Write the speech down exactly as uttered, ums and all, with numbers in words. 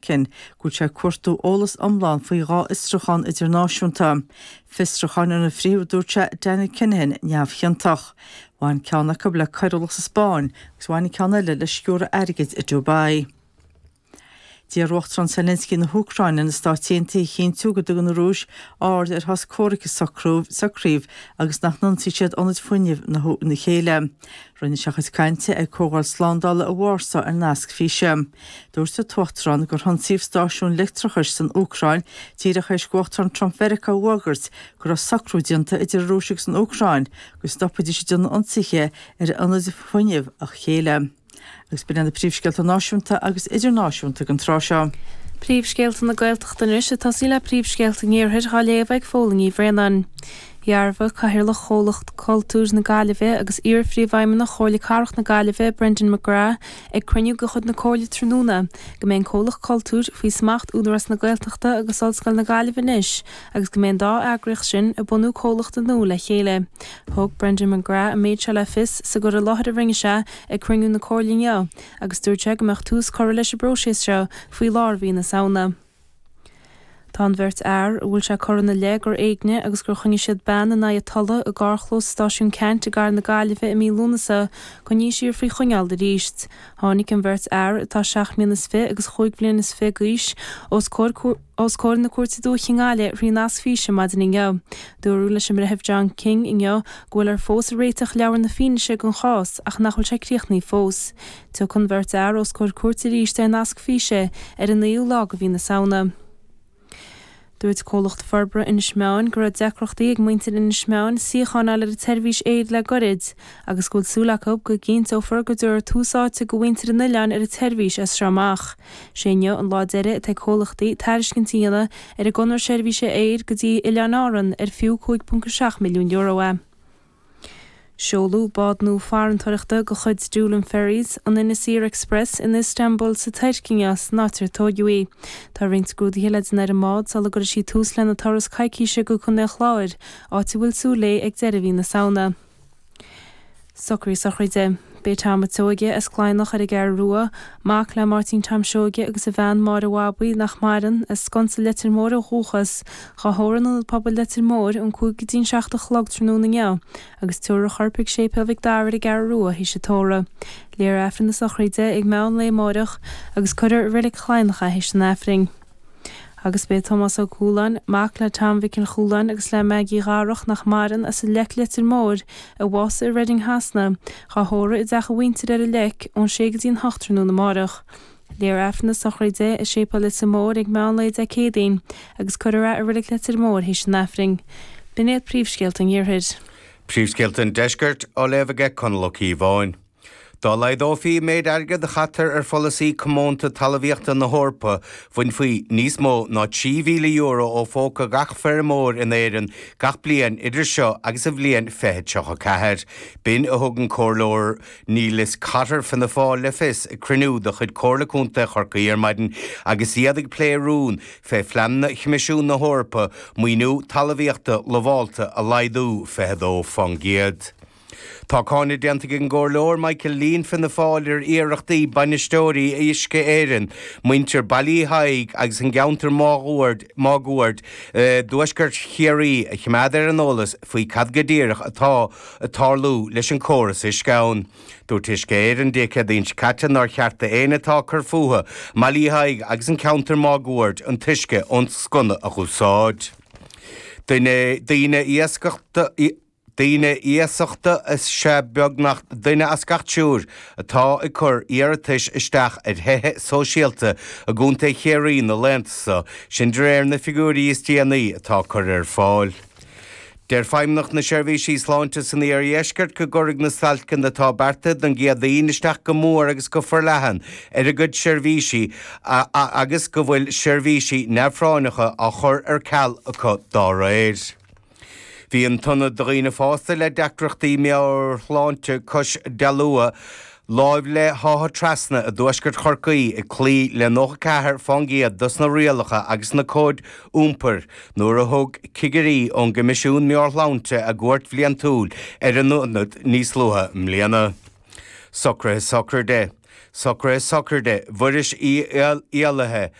Ken go bhfuil sé ag cuartú eolas iomlán faoi dhá fhiosrúchán idirnáisiúnta. Fiosrúcháin inar frítheadh dúirt sé Daniel Kinahan neamhchiontach. Bhain ceann acu le coiriúlacht sa Spáinn agus bhain an ceann eile le sciúradh airgid i Dubai. D'iarr Uachtarán Zelensky na hÚcráine ar na Stáit Aontaithe a chinntiú go dtugann an Rúis aird ar shos comhraic a socraíodh agus nach n-ionsaí siad ionaid fuinnimh na na chéile. Rinne sé a chuid cainte ag comhdháil slándála i Warsaw ar nasc físe. Dúirt an tUachtarán gur hionsaíodh stáisiún leictreachais san Úcráin díreach théis d'Uachtarán Trump Mheiriceá a fhógairt go raibh socrú déanta idir an Rúis agus an Úcráin go stopfaidís ag déanamh ionsaithe ar ionaid fuinnimh a chéile. Agus b'in na príomhscéalta náisiúnta agus idirnáisiúnta don tráth seo. Príomhscéalta na Gaeltachta anois ag tosaí le príomhscéalta an Iarthair á léamh ag Fódhla Ní Bhraonáin. Dhearbhaigh Cathaoirleach Chomhlacht Cultúir na Gaillimhe agus iar-phríomhfheidhmeannach Chomhairle Cathrach na Gaillimhe Brendan McGrath ag cruinniú de chuid na Comhairle tráthnóna go mbeidh an Comhlacht Cultúir faoi smacht Údarás na Gaeltachta agus Ollscoil na Gaillimhe anois agus go mbeidh an dá eagraíocht sin ag bunú comhlachta nua le chéile. Thug Brendan McGrath an méid seo le fios sa gcur i láthair a rinne sé ag cruinniú na Comhairle inniu agus dúirt sé go mbeadh tús curtha leis an bpróiseas seo faoi lár mhí na Samhna. Tá an bheirt fhear a bhfuil sé curtha ina leith gur éignigh agus gur choinnigh siad bean in aghaidh a tola i gcarrchlós stáisiún Ceannt i gCathair na Gaillimhe i mí Lúnasa coinnithe siar faoi choinneáil arís. Tháinig an bheirt fhear atá seacht mbliana is fiche agus chúig bhliana is fiche d'aois os comhair os comhair na Cúirte Dúiche i nGaillimh thrí nasc físe maidin inniu. Dúradh leis an mBreitheamh John King inniu go bhfuil ar fós ag réiteach leabhar na fianaise don chás ach nach bhfuil sé críochnaithe fós. Tiocfaidh an bheirt fhear os comhair cúirte arís ar nasc físe ar an naoú lá de mhí na Samhna. Dúirt comhlacht forbartha Inis Meáin go raibh deacrachtaí ag muintir Inis Meáin suíochán a fháil ar an tseirbhís aeir le gairid, agus go bhfuil súil acu go gcinnteofar go dtabharfar tús áite do mhuintir an oileáin ar an tseirbhís as seo amach. Sé inniu an lá deiridh atá ag comhlachtaí tairiscint a dhéanamh ar an gconradh seirbhíse aeir go dtí Oileáin Árann ar fiú cúig ponc a seacht milliún euro é. Seoladh bád nua farantóireachta de chuid Doolin Ferries, an Inis Oírr Express in Istanbul sa Tuirc inniu san áit ar tóigeadh í. Tá roinnt scrúduithe le déanamh ar an mbád sula gcuirfidh sí tús lena turas coicíse go Contae an Chláir, áit a bhfuil súil léi ag deireadh mhí na Samhna. Socruithe sochraide. B'é Tom a' tSeoige as Cladhnach ar an gCeathrú Rua, mac le Máirtín Tom Seoige agus a bhean Máire Bhabaí nach maireann, as Sconsa Leitir Móir ó dhúchas, dhá thórramh in Ionad Pobail Leitir Móir ón cúig go dtí an seacht a chlog tráthnóna inniu agus tabharfar a chorp chuig Séipéal Mhic Dara ar an gCeathrú Rua théis an tórraimh. Léifear Aifreann na sochraide ag meán lae amáireach agus cuirfear i Reilig Chladhnach é théis an Aifrinn. Agus b'é Tomás Ó Cualáin, mac le Tom Mhic an Chualáin agus le Maggie Dharach nach maireann as an Leic Leitir Móir, a bhásaigh i Reading Shasana, dhá thórramh i dteach a mhuintire ar an Leic ón sé go dtí an hocht tráthnóna amáireach. Léifear Aifreann na sochraide i Séipéal Leitir Móir ag meán lae Dé Céadaoin agus cuirfear é i Reilig Leitir Móir théis an Aifrinn. B'in iad príomhscéalta an Iarthair. Príomhscéalta an Deiscirt á léamh aige Conall Ó Cíobháin. Dá laghdófaí méid airgid a chaitear ar pholasaí comónta talmhaíochta na hEorpa, bhainfí níos mó ná trí mhíle euro ó phóca gach feirmeoir in Éirinn gach bliain idir seo agus an bhliain fiche tríocha ceathair. B'in a thug an comhairleoir Neilus Cotter Fianna Fáil le fios ag cruinniú de chuid Comhairle Contae Chorcaí ar maidin agus iad ag plé rún fé phleananna Choimisiún na hEorpa maoiniú talmhaíochta lamhálta a laghdú fiche dó faoin gcéad. Tá cáineadh déanta ag an gcomhairleoir Michael Leen Fianna Fáil ar iarrachtaí bainisteoirí Uisce Éireann, muintir Bhaile Uí Thaidhg agus an gceantar máguaird máguaird dtuaisceart Chiarraí a choimeád ar an eolas faoi cad go díreach atá ag tarlú leis an córas uisce ann. Dúirt Uisce Éireann Dé Céadaoin seo caite nár cheart d'éinne atá ag cur fúthu i mBaile Uí Thaidhg agus an ceantar máguaird an t-uisce ón sconna a dh'úsáid. Duine daoine iascachta Daoine iasachta is ea beagnach duine as gach triúr atá ag cur iarratais isteach ar thithe sóisialta i gContae Chiarraí na laethanta seo, sin de réir na figiúirí is déanaí atá curtha ar fáil. Deir Feidhmeannacht na Seirbhísí Sláinte san Iardheisceart go gcuirfidh na stailceanna atá beartaithe don gCéadaoin isteach go mór agus go forleathan ar a gcuid seirbhísí agus go bhfuil seirbhísí neamhphráinneacha á chur ar ceal acu dá réir. Bhí an t-ionad do dhaoine fásta le deacrachtaí meabhairshláinte cois Dalua láimh le hÁth Trasna i dtuaisceart Chorcaí ag cloí le nócha ceathair fán gcéad dos na rialacha agus na cóid iompair nuair a thug cigirí ón gCoimisiún Meabhairshláinte a gcuairt bhliantúil ar an ionad níos luaithe i mbliana. Socruithe sochraide. Socruithe sochraide Mhuiris Uí Éalaithe